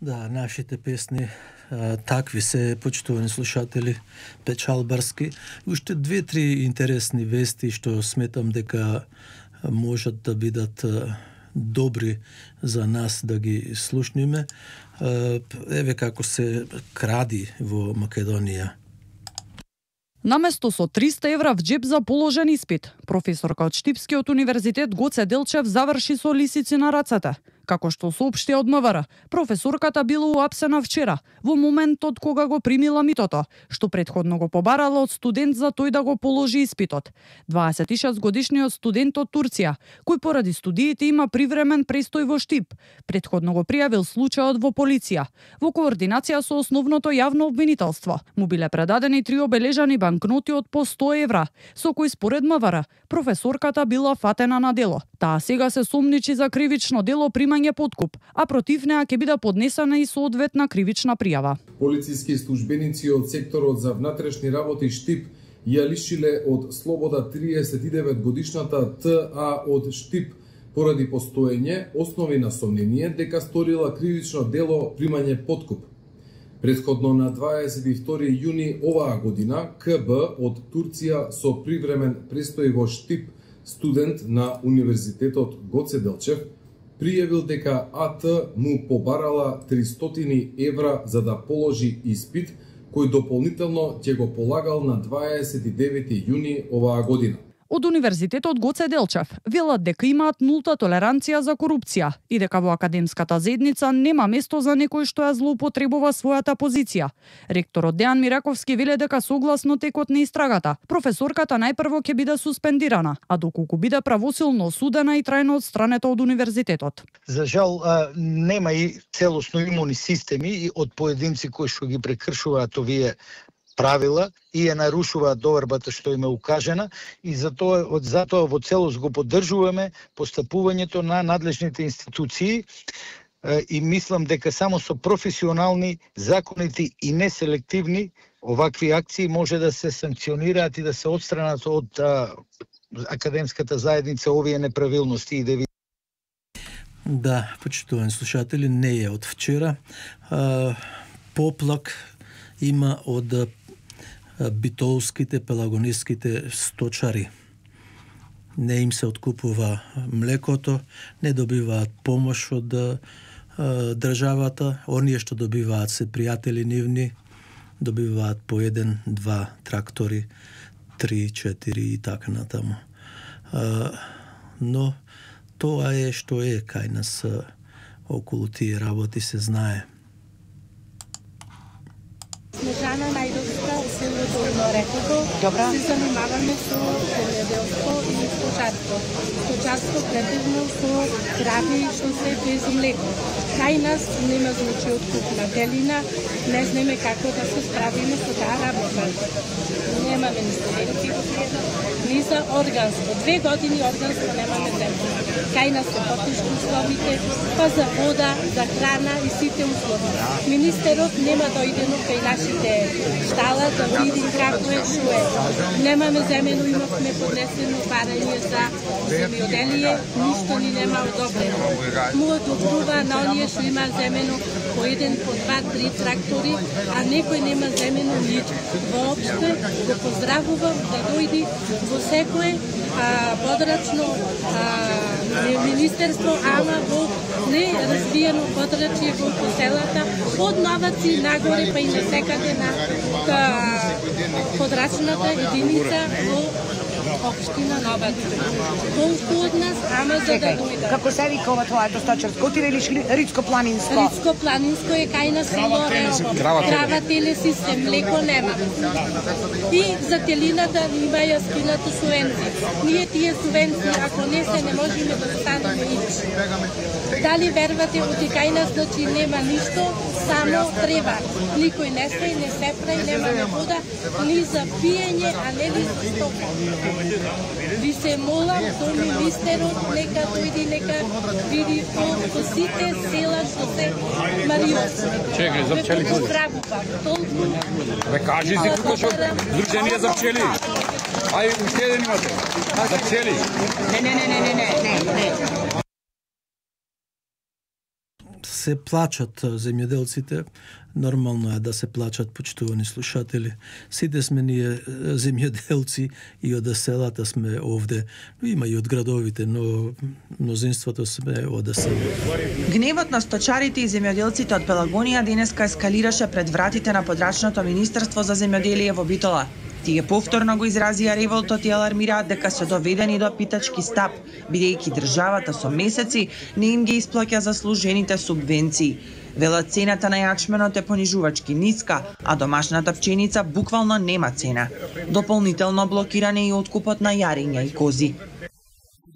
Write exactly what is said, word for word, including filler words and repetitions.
Да, нашите песни а, такви се, почитувани слушатели, печалбарски. Уште две-три интересни вести што сметам дека можат да бидат а, добри за нас да ги слушниме. А, еве како се кради во Македонија. Наместо со триста евра в джеб за положен испит, професорка од Штипскиот универзитет Гоце Делчев заврши со лисици на рацете. Како што соопшти од МВР, професорката била уапсена вчера, во моментот кога го примила митото, што претходно го побарала од студент за тој да го положи испитот. дваесет и шест годишниот студент од Турција, кој поради студиите има привремен престој во Штип, претходно го пријавил случајот во полиција. Во координација со основното јавно обвинителство, му биле предадени три обележани банкноти од по сто евра, со кои според МВР професорката била фатена на дело. Таа сега се сомничи за кривично дело примање подкуп, а против неа ќе биде поднесена и соодветна кривична пријава. Полициски службеници од секторот за внатрешни работи Штип ја лишиле од слобода триесет и девет годишната Т А од Штип поради постоење основи на сомнение дека сторила кривично дело примање подкуп. Предходно на дваесет и втори јуни оваа година К Б од Турција со привремен престој во Штип, студент на Универзитетот Гоце Делчев, пријавил дека А Т му побарала тристотини евра за да положи испит, кој дополнително ќе го полагал на дваесет и девети јуни оваа година. Од Универзитетот Гоце Делчев велат дека имаат нулта толеранција за корупција и дека во академската заедница нема место за некој што ја злоупотребува својата позиција. Ректорот Дејан Мираковски веле дека согласно текот на истрагата, професорката најпрво ќе биде суспендирана, а доколку биде правосилно осудена и трајно одстранета од универзитетот. За жал нема и целосно имуни системи од поединци кои што ги прекршуваат овие правила и ја нарушуваат довербата што им е укажена, и затоа од затоа во целост го поддржуваме постапувањето на надлежните институции и мислам дека само со професионални, законити и неселективни овакви акции може да се санкционираат и да се отстранат од а, академската заедница овие неправилности и деви. Да, почитувани слушатели, не е од вчера. А, поплак има од битолските, пелагониските сточари. Не им се откупува млекото, не добиваат помош од а, државата. Оние што добиваат се пријатели нивни, добиваат по еден, два трактори, три, четири и така натаму. А, но тоа е што е кај нас околу тие работи, се знае. Снежана Најдовска, село Долно Рекото. Добра. Се занимаваме со земјоделство и сточарство. Сточарство претежно со крави што се без млеко. Кај нас нема значи откупна делина, не знаеме како да се справиме со таа работа. Немаме ни студенти, ни за органско. Две години органско немаме земја. Кај нас се потешки условите, па за вода, за храна и сите услови. Министерот нема дојдено кај нашите штала да видим како е, шо е. Немаме земено, имавме поднесено барање за земјоделие, ништо ни нема одобрено. Му одобрува на оние што има земено по еден, по два, три трактори, а некој нема земено ништо. Воопште го поздравувам да дојди во секое а, подрачно а, министерство, ама во неразвиено подрачје во поселата, од Новаци нагоре па и на секаде на подрачната единица во општина Новаци. Колку од нас, ама за да дојдат. Како се вика ова тоа сточарско или Рицко-планинско? Рицко-планинско е кај на село Реово. Крава теле систем, млеко нема. И за телината има ја скинато субвенција. Ние тие субвенции, ако не се, не можеме да станеме нич. Дали вервате, оти кај нас, значи нема ништо, само треба. Никој не се, не се прави, немаме вода, ни за пиење, а не ни за стока. Ви се молам до министерот, нека дојди, нека види по сите села што се мариосни. Чекај, за пчели кој? Толку. Бе, кажи си како што Сдружение за пчели. Ај, уште еден имате. За пчели. Не, не, не, не, не, не, не. се плачат земјоделците. Нормално е да се плачат, почитувани слушатели. Сите сме ние земјоделци и од селата сме овде. Има и од градовите, но мнозинството сме од селата. Гневот на сточарите и земјоделците од Пелагонија денеска ескалираше пред вратите на подрачното Министерство за земјоделие во Битола. Тие повторно го изразија револтот и алармираат дека се доведени до питачки стап, бидејќи државата со месеци не им ги исплаќа заслужените субвенции. Велат цената на јачменот е понижувачки ниска, а домашната пченица буквално нема цена. Дополнително блокиране и откупот на јарења и кози.